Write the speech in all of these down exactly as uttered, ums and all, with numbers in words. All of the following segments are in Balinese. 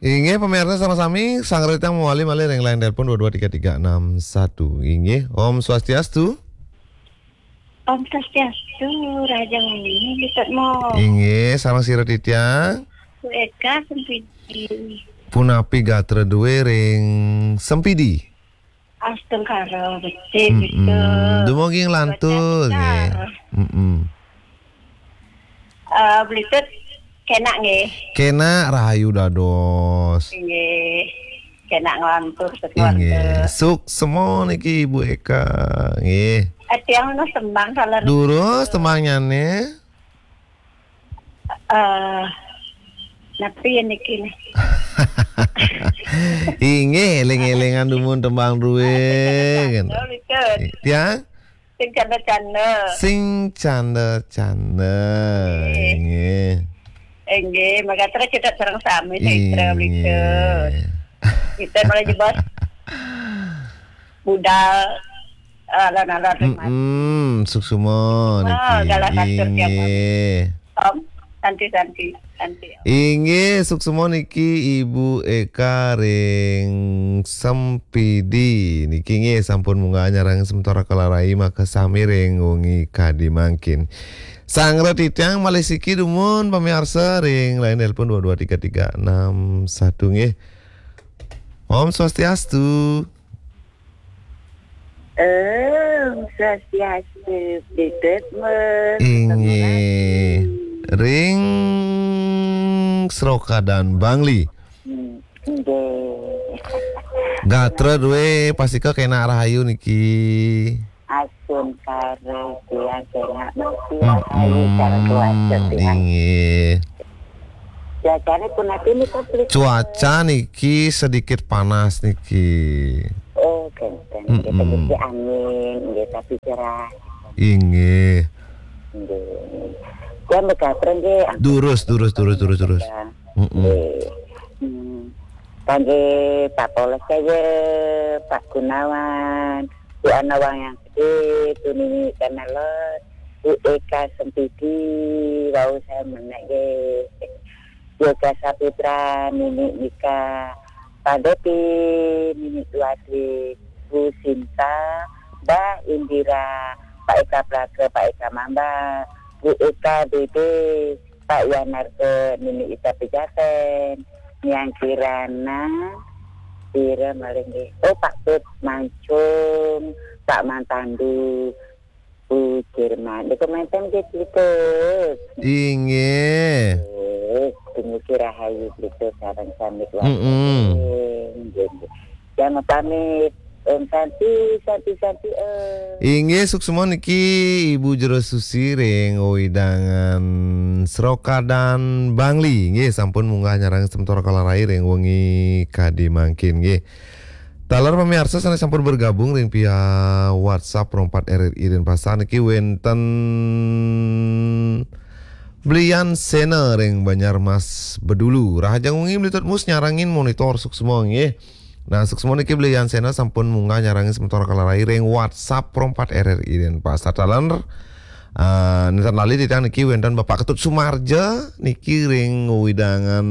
Inggih, pemirsa sama sami, sanggra titiang mawali malih ring line telepon dua dua tiga tiga enam satu. Inggih, Om Swastiastu. Om Swastiastu, Raja Muni, Bli Tut Mo. Inggih, sareng sira titiang? Bu Eka Sempidi. Punapi gatra dué ring Sempidi? Astungkara becik, mm-mm, Bli Tut. Dumugi nglantur, nggih. Mm-mm. Eh, Bli Tut, kenak nggih. Kenak rahayu dados. Inggih. Kenak nglantur, inggih, sekeluarga. Suksma niki Ibu Eka, nggih. Eh, tiang nunas tembang salah. Durus tembangnyané. Eh, napi niki nih? Inggih, éling-élingan dumun tembang dué. Tiang? Sing canda-canda. Sing canda-canda. Nggih. Inggih, mekaten cedhak sareng sami, Saitra, inggih. Kita malah jebos budal, eh, alon-alon. Mm-mm, suksma niki. Galah kasur tiap hari. Inggih. Om, santi, santi, santi. Inggih, suksma niki Ibu Eka ring Sempidi. Niki nggih sampun munggah nyarengin semeton Kala Rai makasami ring wengi kadi mangkin. Sanggra titiang malih siki dumun pamiarsa ring line telepon dua dua tiga tiga enam satu nggih. Om Swastiastu. Om Swastiastu, Bli Tut Mo. Inggih. Ring Srokadan Bangli. Hmm, nggih. Gatra dué pastika kenak rahayu niki. Astungkara tiang kenak mesti rahayu, mm-mm, cara cuaca tiang. Inggih. Cuacane punapi nika, Bli Tut? Cuaca niki sedikit panas niki. Oh, kénten. Nggih, mm-mm, sedikit angin, nggih, tapi cerah. Inggih. Nggih. Ya, mekaten nggih. Durus, durus, durus, durus, durus. Mm-mm. Nggih. Hmm. Kangge Pak Polres Jaya, Pak Gunawan, Bu Ana Wayang Gedé, Bu Nini Kanalon, Bu Eka Sempidi, wau saya menek nggih. Yoga Saputra, Nini Nika, Pak Depi, Nini Duade, Bu Sinta, Mbak Indira, Pak Eka Praga, Pak Eka Mamba, Bu Eka Dede, Pak Yanarto, Nini Ita Pejaten, Nyang Kirana, sira malih nggih. Oh, Pak Tut Mancung, Pak Mantandu, Bu Jerman. Niku menten nggih, Bli Tut. Inggih. Nggih, dumugi rahayu, Bli Tut, sareng sami keluarga. Mm-mm. Nggih, nggih. Jangan pamit. Om Santi, Santi, Santi, Om. Inggih, suksma niki Ibu Jero Susi ring wewidangan Srokadan Bangli. Nggih, sampun munggah nyarengin semeton Kala Rai ring wengi kadi mangkin, nggih. Taler pamiarsa sané sampun bergabung ring via WhatsApp Pro empat R R I Denpasar niki wénten Blian Sena ring Banjarmas Bedulu. Rahajeng wengi Bli Tut Mo nyarengin monitor suksma nggih. Nah, suksma niki Blian Sena sampun munggah nyarengin semeton Kala Rai ring WhatsApp Pro empat R R I Denpasar. Taler, eh, nénten lali titiang niki wénten Bapak Ketut Sumarja niki ring wewidangan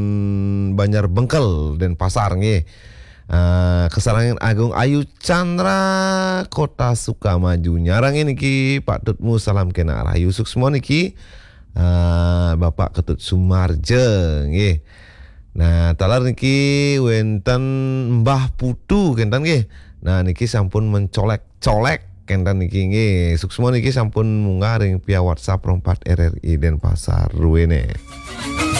Banjar Bengkel Denpasar nggih. Eh, kasarengin Agung Ayu Chandra Kota Sukamaju. Nyarengin niki Pak Tut Mo, salam kenak rahayu, suksma niki. Eh, Bapak Ketut Sumarja nggih. Nah, taler niki wénten Mbah Putu kénten nggih. Nah, niki sampun mencolek-colek kénten niki nggih. Suksma niki sampun munggah ring via WhatsApp Pro empat R R I Denpasar ruene.